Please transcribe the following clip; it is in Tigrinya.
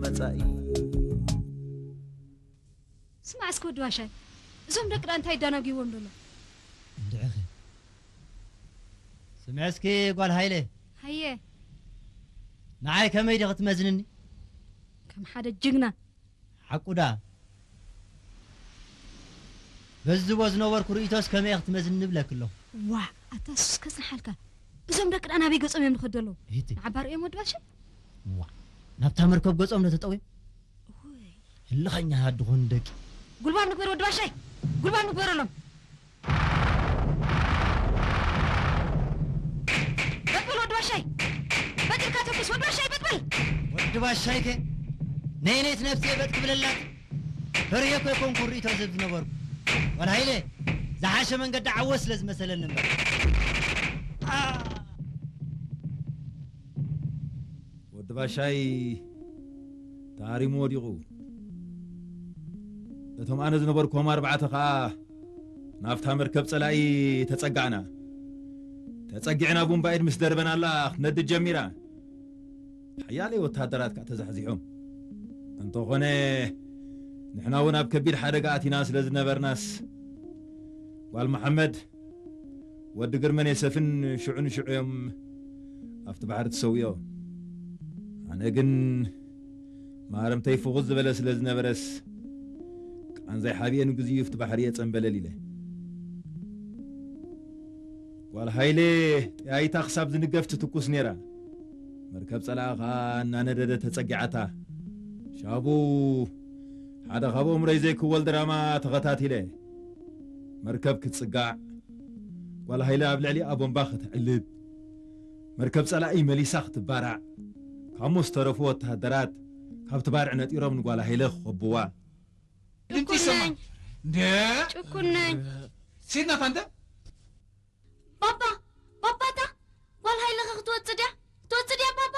መጻኢ። ስማዕ እስኪ ወዲ ባሻይ፣ እዞም ደቂ ደኣ እንታይ ይዳናጉይዎም ደሎ? እንድዕኺ ስምዒ እስኪ ጓል ሃይለ፣ ሃየ። ንዓይ ከመይ ዲኺ ትመዝንኒ? ከም ሓደ ጅግና። ሓቁ ደኣ በዚ ዝቦ ዝነበርኩ ርእይቶስ ከመይ ኢኺ ትመዝንኒ እብለኪ ኣለኹ። ዋ፣ ኣታ ሱስ ከጽንሓልካ። እዞም ደቂ ደኣ ናበይ ገጾም እዮም ዝኸዱ ኣለዉ? ሂቲ ንዓባ ርእዮም ወዲ ባሻይ? ዋ፣ ናብታ መርከብ ገጾም ዶ ተጠውዮም? ውይ። ህልኸኛ ሃድኾን ደቂ ጉልባብ ንግበር ወዲ ባሻይ፣ ጉልባብ ንግበረሎም። በጥበል ወዲ ባሻይ፣ በጢልካ ተኩስ ወዲ ባሻይ፣ በጥበል። ወዲ ባሻይከ ነይነይት ነፍሲ በጥ ክብለላት ፈርየ እኮ ይኮንኩ ርእይቶ ዝህብ ዝነበርኩ። ወላ ሃይለ ዝሓሸ መንገዲ ዓወት ስለ ዝመሰለኒ እምበር። ወዲ ባሻይ ተሃሪሙ ወዲቑ። እቶም ኣነ ዝነበርኩዎም ኣርባዕተ ኸኣ ናብታ መርከብ ጸላኢ ተጸጋዕና። ተጸጊዕና ቡምባኢድ ምስ ደርበናላ ክትነድድ ጀሚራ። ሓያለይ ወተሃደራት ከኣ ተዛሕዚሖም። እንተኾነ ንሕና እውን ኣብ ከቢድ ሓደጋ ኣቲና ስለ ዝነበርናስ ጓል መሓመድ ወዲ ግርመን የሰፍን ሽዑ ንሽዑ እዮም ኣብቲ ባሕሪ ተሰዊኦም። ኣነ ግን ማረምተይ ፍኹስ ዝበለ ስለ ዝነበረስ ቃንዛይ ሓቢኤ ንግዚኡ ኣብቲ ባሕሪ እየ ጸንበለል ኢለ። ጓል ሃይለ ጠያይታ ክሳብ ዝንገፍ ትትኩስ ነይራ። መርከብ ጸላኢ ኸኣ እናነደደ ተጸጊዓታ። ሻቡ ሓደ ካብ ኣእምሮይ ዘይክወል ድራማ ተኸታቲለ። መርከብ ክትጽጋዕ ጓል ሃይለ ኣብ ልዕሊኣ ቦምባ ከተዕልብ፣ መርከብ ጸላኢ መሊሳ ክትባራዕ፣ ካሞ ዝተረፉ ወተሃደራት ካብቲ ባርዕ ነጢሮም ንጓል ሃይለ ክኸብዋ። ድምፂ ይሰማል። ጭኩነኝ። እንደ ጭኩነኝ። ሴት ናት አንተ። ባባ፣ ባባታ ጓል ሃይለኸ ክትወጽእ ድያ? ክትወጽእ ድያ ባባ?